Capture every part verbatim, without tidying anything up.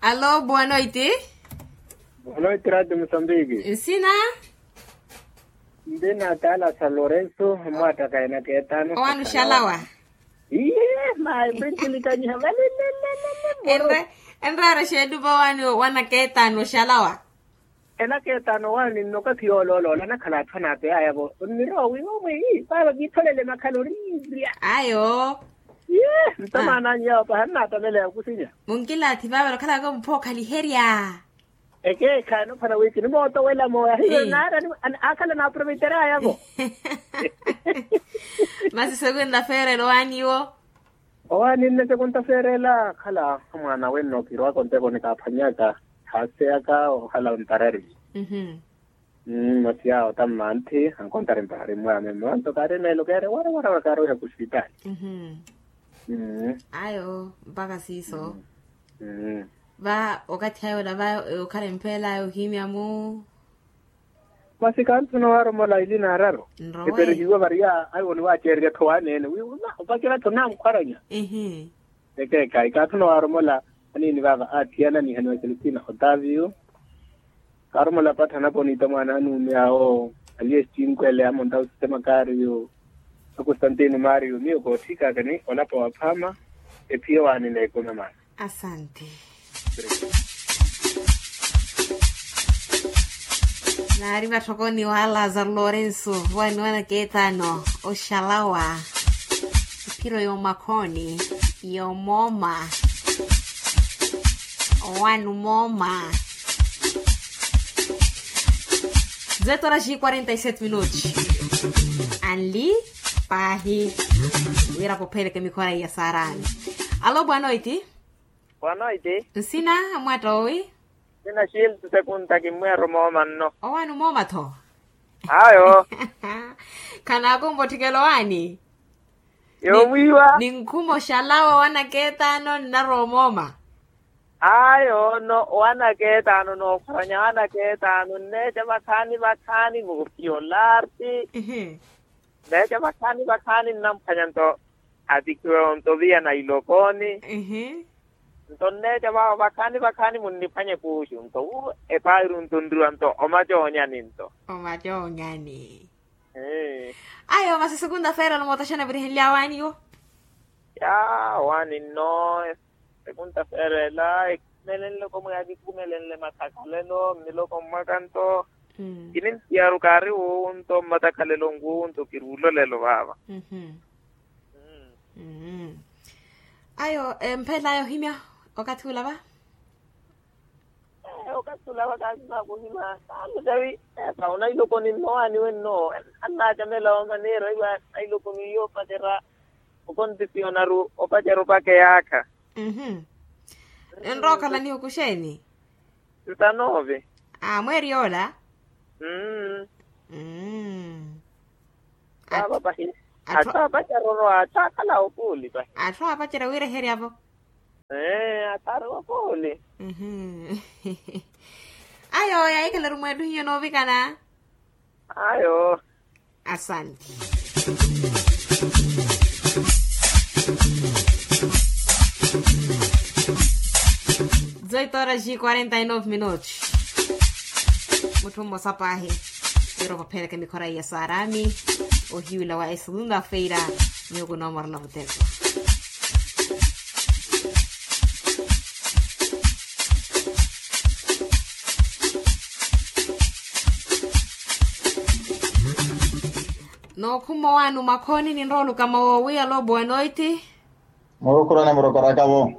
Alo, boa noite. Boa noite, Rádio Moçambique. Nsina? Ndina tala sa Lorenzo, mwataka ena ketano. Owani oxalawa? Iye, mayi, mpintilikaniha valelelelele. Enre enraro xeedupa owani wana ketano oxalawa? Ena ketano owani nnokathi yoolooloola nakhala atthu anapeyaya-vo. Onniroowi omwe. Paapa kiitholele makhala oriirya. Ayo. Iye, nto maana anyu yawo paha nnatameleya okusinya. Munkilaathi vaavale okhalaka mupha okhaliherya. Ekeekhaani ophana wi kinimootowela mooya hiyo naarani. Akhala naaproveiteraya-vo. Masi sekunta feerela owaani iwo? Owaani nne sekunta feerela akhala amwaana wenno kirowaka onteko nikaaphwanyaka. Haaseyaka okhala ontarari. Masi yawo tammanthi ankontari mpahari mmwaame mmanto kaari meelo keere wara wara wara kaaroiha kusipitaali. Ayo mpaka siiso. Va okathi ayo olava okhala empeelaya ohimya-mu. Masi kanthuna owaromola ili naararu. Eperehiwa variya ayo niwaaceererya-tho waaneene wi opacerya-tho namukhwaranya. Ekeekhayi kanthuna owaromola aniini vaava aathiyana ni haniwa celestina otavio. Kaaromola pattha anaponita mwaana anuumi awo aliye scinkwele amonta osistema kaariyo. Akostantino mario miyo kootthikaka ni olapa waphama. Ephiya owaani neekumi maana. Asante. Naari vatthokoni wa lazaro lorenso waniwana keetano oxalawa. Ephiro yomakhoni yomooma. Owani omooma. Zetoraxi quarenta e sete minuti. Anli paahi. Wira popheleke mikhora iya saarani. Alo boa noite. Boa noite. Nsina amwatta owi? Nsina xilto sekunta kimmweero mooma nno. Owani omooma-tho? Ayo. Khanaakumba otthikela owani? Yoomwiiwa. Ninkhuma oxalawa owanaketano nnarowa omooma. Ayo no owanaketano nookhwaranya owanaketano nneeca vakhaani vakhaani voopiyolarti. Nneeca vakhaani vakhaani nnamphwanya nto atikhiwe onto viya na ilokoni. Nto nneeca vakhaani vakhaani munniphwanye kuuxu nto epairu nto nriwa nto omacoonyani nto. Omacoonyani. Ayo masi sekunta feerela omoota xana virihenlya awaani yo? Ya awaani nno. Sekunta feerela ekhumelenle komwe yavikhumelenle mathakhalelo mmiloko mmwaka nto. Kinintiyaru kaari wuwu nto mmatakhalelo nkuwu nto kiruulolelo vaava. Ayo emphelaya ohimya okathi ula va? Okathi ula va kaasi naakuhimya. Kaalo cawi esa onailokoni nno waani wenno. Annaacamela omaneera iwa nailokoni iyo opacera okontisionaru opacera opakeyaakha. Enrookhalaniha okuxeeni? Ntanove. Amweeri yoola. Mmm. Mmm. Paapa pahi. Atthu apacerya orowa atthu akhala opuuli pahi. Atthu apacerya wiireherya-vo. Ee atthu ari opuuli. Ayo yaahikhalaru mweettuhiyo noovikana. Ayo. Asante. Dezoito horas e quarenta e nove minutos. Mutthu mmosa paahi. Iro vapheleke mikhora iya saarami. Ohiwila wa esegunda feira. Miyo kunoomorela vuteko. Nookhuma owaani omakhoni ninrowa olukama woowiya alo boa noite. Murukhurani murokoraka-vo.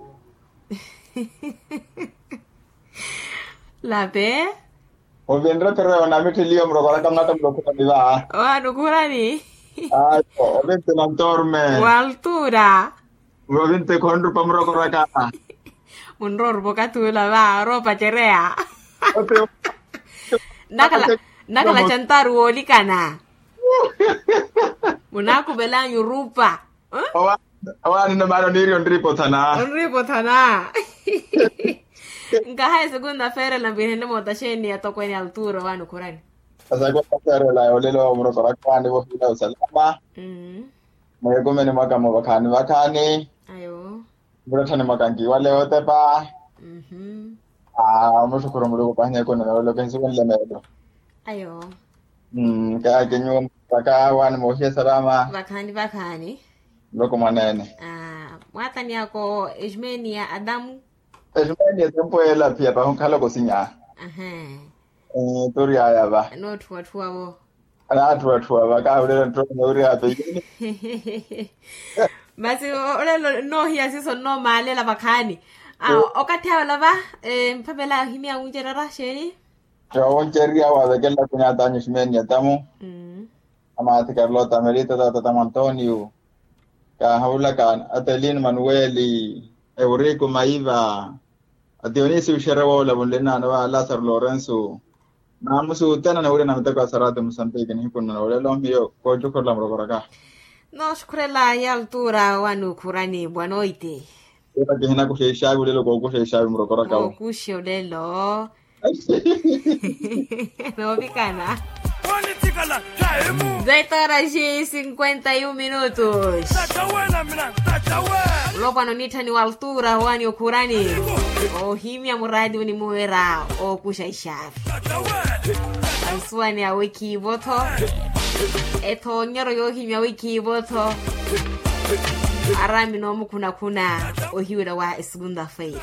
Lape. Ovinre pero namittheliyo murokoraka mwatta murukhurani va. Owaani okhurani. Ayo ovinte nantorme. Waltura. Ovinte khonrupa murokoraka. Munrowa orupa okathi ula va oroopacereya. Nakhala nakhala cantaru woolikana. Munaakuvel'anyu orupa. Owaani nno maana oniirya onriipothana. Onriipothana. Nkahayi sekunta feerela mpihenle moota xeeni ya tokweene alturo owaani okhurani? Sekunta feerela yoolelo murokoraka owaani vohiila osalama. Mweekumeni mwaka-mo vakhaani vakhaani. Ayo. Mulatthani mwaka nkiwale otepa. Omuxukhuru muluku pahi neekonela wela okensiwa nlemeelo. Ayo. Kayakinyu mpaka wani moohiya salama. Vakhaani vakhaani. Muluku mwaneene. Mwaatani ako eximeni ya adamu. Eximeni ya tempu ela phiya pahi onkhala kosinya. Turyaya va. Nootthuwatthuwa vo. Anatthuwatthuwa va kahulela nttonya uri apeyini. Masi olelo nnoohiya siiso nnoomaalela vakhaani. Okathi awe olava mphamela ohimya wuncererya xeeni? Wuncererya wavekelela khunyatanyu ximeni ya tamu. Amaathi karlota merita tata tamu antonio. Kaahawulaka atelino manuweli, euriku maiva, ationisi uxere woola vunle nnaano va lasaro lorenso. Naamusi utena nawirya na miteko ya sarati musantiki nihiku nnano olelo miyo koocukhurela murokoraka. Nooxukhurela ya altura wani okhurani bwanoiti. Ira kihinakuxa exaavi olelo kookuxa exaavi murokoraka. Ookuxa olelo. Noovikana. Zetoraxi cinquenta y un minutos. Mulopwana onitthani wa altura wani okhurani. Ohimya muradi onimuwera ookuxa exaavi. Ansuwani awikhiivo-tho. Ethoonyero yoohimya awikhiivo-tho. Arami noomukhuna-khuna ohiwela wa esegunda feira.